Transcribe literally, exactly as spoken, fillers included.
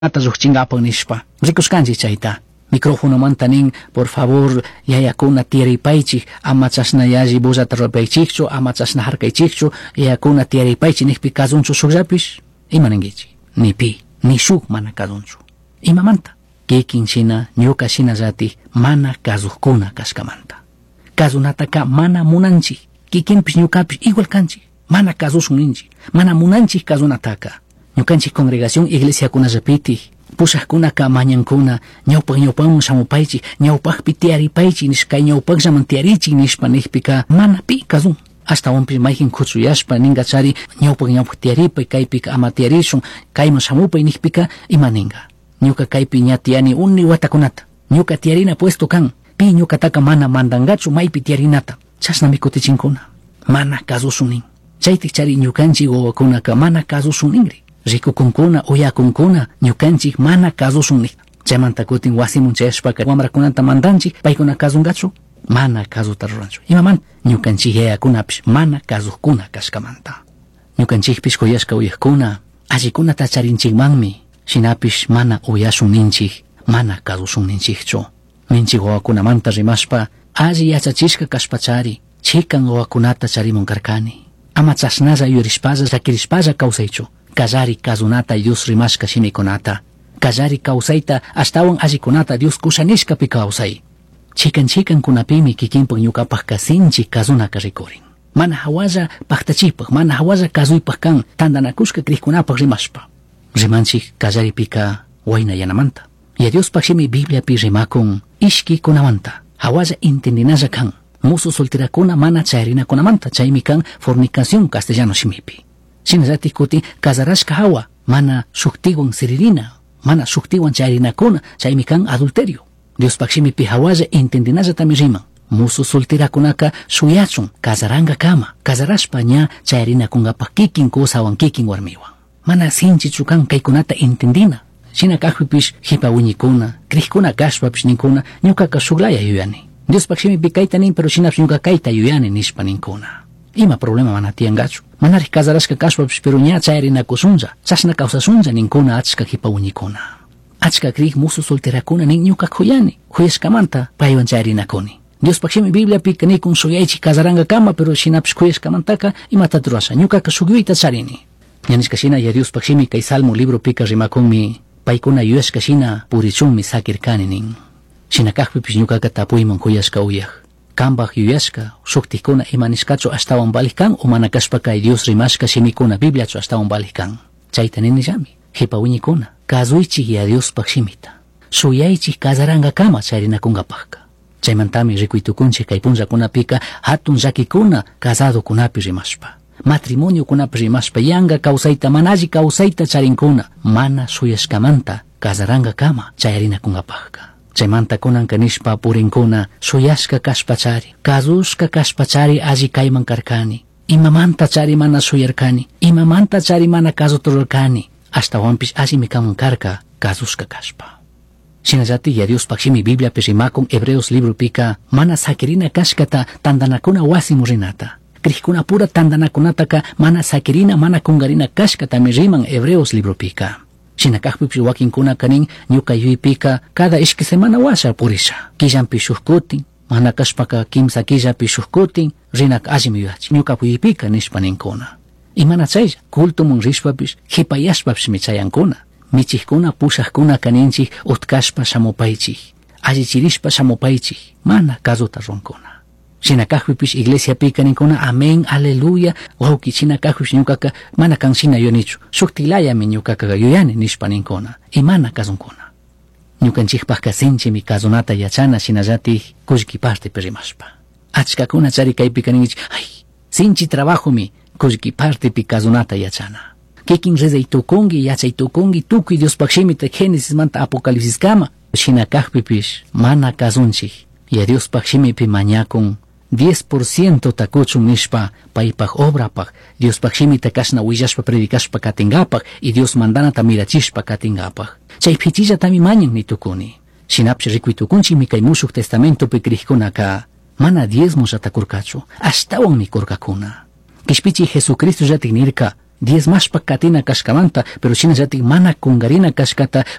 Llujchingapaj nishpa rikushkanchik chayta microfonomanta nin por favor yayakuna tiyaripaychik ama chashna yalli bullata rurapaychikchu ama chashna harkaychikchu yayakuna tiyaripaychik nijpi kazunchu shukllapish ima ninkichik ni pi ni shuk mana kazunchu imamanta kikin shina ñuka shinallatik mana kazujkuna kashkamanta kazunataka mana munanchik kikinpish ñukapish igual kanchik mana kazushun ninchik mana munanchik kazunataka ñukanchik congregación iglesiakunallapitik pushajkunaka mañankuna ñawpak ñawpakman shamupaychik ñawpakpi tiyaripaychik nishpa kay ñawpakllaman tiyarichik nishpa nijpika mana pi kazun ashtawanpish mayjin kuchuyashpa ninkachari ñawpak ñawpak tiyaripay kaypika ama tiyarishun kayman shamupay nijpika ima ninka ñuka kaypi ña tiyani uni watakunata ñuka tiyarina puesto kan pi ñukataka mana mandankachu maypi tiyarinata chashnami kutichinkuna mana kazushun nin chaytik chari ñukanchik wawakunaka mana kazushun ninri rikukunkuna uyakunkuna ñukanchik mana kazushun nik chaymanta kutin wasimun chayashpaka wamrakunata mandanchik paykuna kazunkachu mana kazuta ruranchu imamanta ñukanchik yayakunapish mana kazujkuna kashkamanta ñukanchikpish kuyashka uyajkuna allikunata charinchikmanmi shinapish mana uyashun ninchik mana kazushun ninchikchu ninchik wawakunamanta rimashpa alli yachachishka kashpachari chikan wawakunata charimun karkani ama chashnalla yuyarishpalla llakirishpalla kawsaychu kallari kazunata Dios rimashka shimikunata kallari kawsayta ashtawan allikunata Dios kusha nishkapi kawsay chikan chikankunapimi kikinpak ñukapakka sinchi kazunaka rikurin mana hawalla paktachipaj mana hawalla kazuypaj kan tantanakushka krikkunapak rimashpa rimanchik kallaripika waynayanamanta ya Diospaj shimi Bibliapi rimakun ishkikunamanta hawalla entendinalla kan musu solterakuna mana chayarinakunamanta chaymi kan fornicación castellano shimipi shinallatik kutin casarashka hawa mana shuktiwan siririna mana shuktiwan chayarinakuna chaymi kan adulterio Diospaj shimipi hawalla entendinallatami riman musu solterakunaka shuyachun casarankakama casarashpa ña chayarinakunkapaj kikin kusawan kikin warmiwan mana sinchichu kan kaykunata entendina shina kajpipish jipa wiñikuna krikuna kashpapish ninkuna ñukaka shuklaya yuyani Diospaj shimipi kayta nin pero shinapish ñuka kayta yuyani nishpa ninkuna ima problema mana tiyankachu manarik casarashka kashpapish pero ña chayarinakushunlla chashna kawsashunlla ninkuna achka jipa wiñikuna achka krik musu solterakuna nin ñuka kuyani kuyashkamanta paywan chayarinakuni Diospaj shimi Bibliapika nikun shuyaychik casarankakama pero shinapish kuyashkamantaka imata rurasha ñukaka shuk yuyayta charini ña nishka shina ya Diospaj shimi kay Salmo libropika rimakunmi paykuna yuyashka shina purichunmi sakirkani nin shina kajpipish ñukaka tapuyman kuyashka uyaj kambaj yuyashka shuktikuna ima nishkachu ashtawan valij kan o mana kashpa kay Dios rimashka shimikuna Bibliachu ashtawan valij kan chayta ninillami jipa wiñikuna kazuychik ya Diospaj shimita shuyaychik casarankakama charinakunkapajka chaymantami rikuytukunchik kay punllakunapika hatun llakikuna casadokunapi rimashpa matrimoniokunapi rimashpa yanka kawsayta mana alli kawsayta charinkuna mana shuyashkamanta casarankakama chayarinakunkapajka chaymanta kunanka nishpa purinkuna shuyashka kashpachari kazushka kashpachari alli kayman karkani imamanta chari mana shuyarkani imamanta chari mana kazuta rurarkani ashtawanpish allimi kanman karka kazushka kashpa shinallatik ya Diospaj shimi Bibliapi rimakun Hebreos libropika mana sakirina kashkata tantanakuna wasimu rinata krikkunapura tantanakunataka mana sakirina mana kunkarina kashkatami riman Hebreos libropika shina kajpipish wakinkunaka nin ñuka yuypika cada ishki semana washa purisha killanpi shuk kutin mana kashpaka kimsa killapi shuk kutin rinaka allimi yuyachin ñuka yuypika nishpa ninkuna imana chaylla cultomun rishpapish jipayashpapishmi chayankuna michijkuna pushajkunaka ninchik utkashpa shamupaychik allichirishpa shamupaychik mana kazuta runkuna shina kajpipish iglesiapika ninkuna amén aleluya wawki shina kajpish ñukaka mana kan shina yuyanichu shuktilayami ñukaka yuyani nishpa ninkuna imana kazunkuna ñukanchikpajka sinchimi kazunata yachana shinallatik kullki partepi rimashpa achkakuna chari kaypika ninkichik ay sinchi trabajomi kullki partepi kazunata yachana kikin rezay tukunki yachay tukunki tukuy Diospaj shimita Génesismanta Apocalipsiskama shina kajpipish mana kazunchik ya Diospaj shimipi mañakun diez por ciento takuchun nishpa paypaj obrapaj Diospaj shimita kashna willashpa predicashpa katinkapaj y Dios mandanata mirachishpa katinkapaj chay pichillatami mañan nitukuni shinapish rikuy tukunchikmi kay mushuq testamentopi krikkunaka mana diezmollata kurkachu ashtawanmi kurkakuna kishpichi Jesucristo llatik nirka Diezmashpa katina kashkamanta, pero shinallatik mana kungarina kashkata.